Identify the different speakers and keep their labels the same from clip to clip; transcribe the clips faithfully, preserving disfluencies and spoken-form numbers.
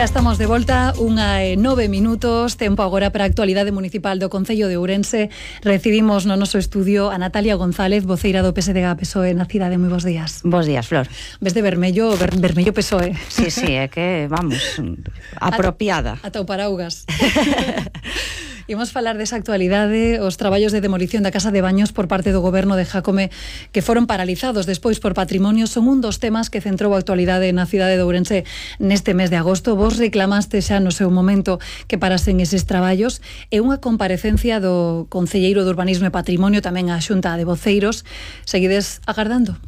Speaker 1: Xa estamos de volta, unha e nove minutos, tempo agora para a actualidade municipal do Concello de Ourense. Recibimos no noso estudio a Natalia González, voceira do P S D G P S O E na cidade. Moi bons días.
Speaker 2: Bos días, Flor.
Speaker 1: Ves de vermello, ver, vermello P S O E.
Speaker 2: Sí, sí, é que, vamos, apropiada.
Speaker 1: Ata o paraugas. Imos falar desa actualidade, os traballos de demolición da Casa de Baños por parte do Goberno de Jácome que foron paralizados despois por Patrimonio son un dos temas que centrou a actualidade na cidade de Ourense neste mes de agosto. Vos reclamaste xa no seu momento que parasen eses traballos e unha comparecencia do Concelleiro de Urbanismo e Patrimonio, tamén a Xunta de Voceiros. Seguides agardando?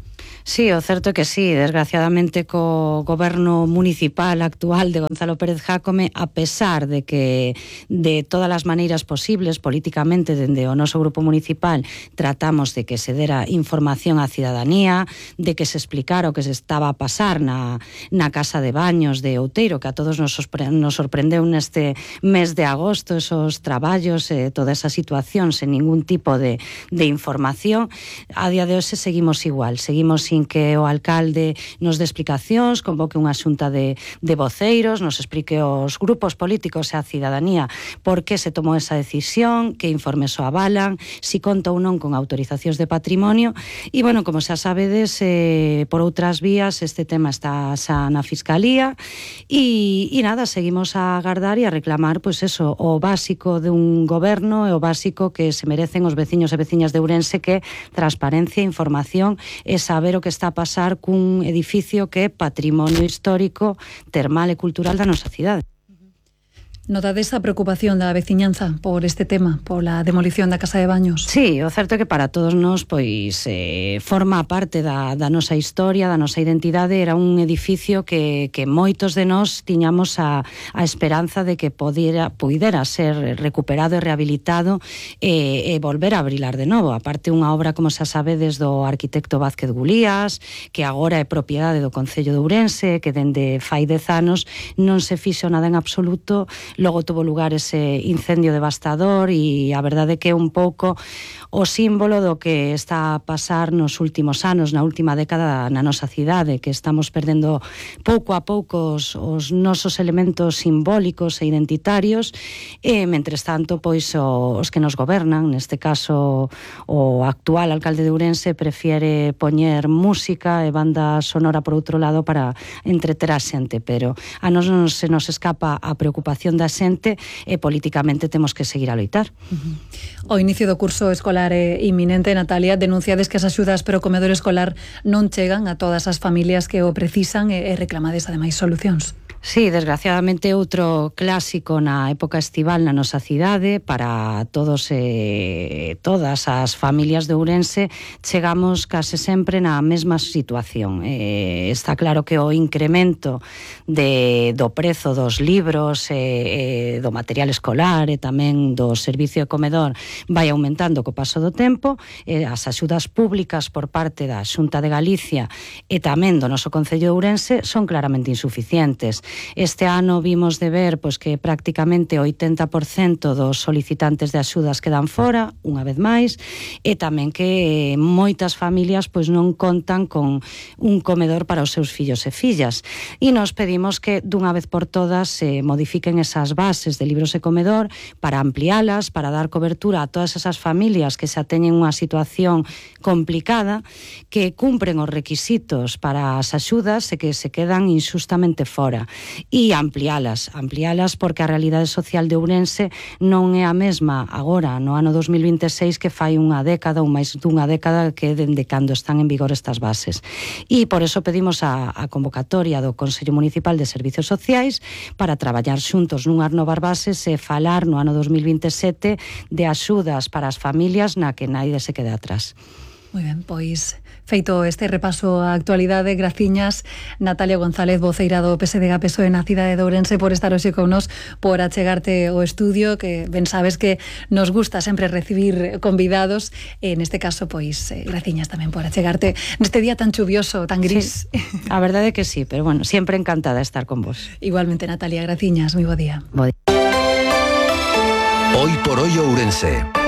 Speaker 2: Sí, o certo é que sí, desgraciadamente co goberno municipal actual de Gonzalo Pérez Jácome, a pesar de que de todas as maneiras posibles políticamente dende o noso grupo municipal tratamos de que se dera información á cidadanía, de que se explicara o que se estaba a pasar na, na Casa de Baños de Outeiro, que a todos nos, nos sorprendeu neste mes de agosto, esos traballos, eh, toda esa situación sen ningún tipo de, de información. A día de hoxe seguimos igual, seguimos sin que o alcalde nos dé explicacións, convoque unha xunta de, de voceiros, nos explique os grupos políticos e a cidadanía por que se tomou esa decisión, que informes o avalan, si conta ou non con autorizacións de patrimonio. E, bueno, como xa sabedes, eh, por outras vías este tema está xa na Fiscalía e, e nada, seguimos a agardar e a reclamar, pois eso, o básico de un goberno e o básico que se merecen os veciños e veciñas de Ourense, que transparencia, información e saber o que está a pasar cun edificio que é patrimonio histórico, termal e cultural da nosa cidade.
Speaker 1: Notades a preocupación da veciñanza por este tema, pola demolición da Casa de Baños?
Speaker 2: Sí, o certo é que para todos nós pois eh, forma parte da, da nosa historia, da nosa identidade. Era un edificio que, que moitos de nós tiñamos a, a esperanza de que podera, pudera ser recuperado e rehabilitado e, e volver a abrilar de novo. Aparte, unha obra, como xa sabedes, do arquitecto Vázquez Gulías, que agora é propiedade do Concello de Ourense, que dende fai dez anos non se fixo nada en absoluto. Logo tuvo lugar ese incendio devastador e a verdade que é un pouco o símbolo do que está a pasar nos últimos anos, na última década na nosa cidade, que estamos perdendo pouco a pouco os, os nosos elementos simbólicos e identitarios e, mentres tanto, pois o, os que nos gobernan, neste caso o actual alcalde de Ourense, prefiere poñer música e banda sonora por outro lado para entreter a xente, pero a nos non se nos escapa a preocupación da xente e políticamente temos que seguir a loitar.
Speaker 1: Uh-huh. O inicio do curso escolar é inminente, Natalia. Denunciades que as axudas para o comedor escolar non chegan a todas as familias que o precisan e reclamades ademais solucións.
Speaker 2: Sí, desgraciadamente outro clásico na época estival na nosa cidade. Para todos e eh, todas as familias de Ourense chegamos case sempre na mesma situación. Eh, está claro que o incremento de, do prezo dos libros e eh, do material escolar e tamén do servicio de comedor vai aumentando co paso do tempo. Eh, as axudas públicas por parte da Xunta de Galicia e tamén do noso Concello de Ourense son claramente insuficientes. Este ano vimos de ver pois, que prácticamente o oitenta por cento dos solicitantes de axudas quedan fora, unha vez máis, e tamén que moitas familias pois, non contan con un comedor para os seus fillos e fillas. E nos pedimos que dunha vez por todas se modifiquen esas bases de libros e comedor para ampliálas, para dar cobertura a todas esas familias que xa teñen unha situación complicada, que cumpren os requisitos para as axudas e que se quedan injustamente fora. E ampliálas, ampliálas porque a realidade social de Ourense non é a mesma agora, no ano dos mil vinte e seis, que fai unha década ou máis dunha década que dende cando están en vigor estas bases. E por eso pedimos a, a convocatoria do Consello Municipal de Servicios Sociais para traballar xuntos nunhas novas bases e falar no ano dos mil vinte e sete de axudas para as familias na que naide se quede atrás.
Speaker 1: Moi ben, pois feito este repaso á actualidade, graciñas Natalia González, voceira do P S D G P S O E na cidade de Ourense, por estar hoxe con nos, por achegarte ao estudio, que ben sabes que nos gusta sempre recibir convidados, e neste caso, pois, eh, graciñas tamén por achegarte neste día tan chuvioso, tan gris.
Speaker 2: Sí, a verdade é que sí, pero bueno, sempre encantada de estar con vos.
Speaker 1: Igualmente, Natalia, graciñas, moi bo día.
Speaker 2: Bo día.
Speaker 3: Hoy por hoy Ourense.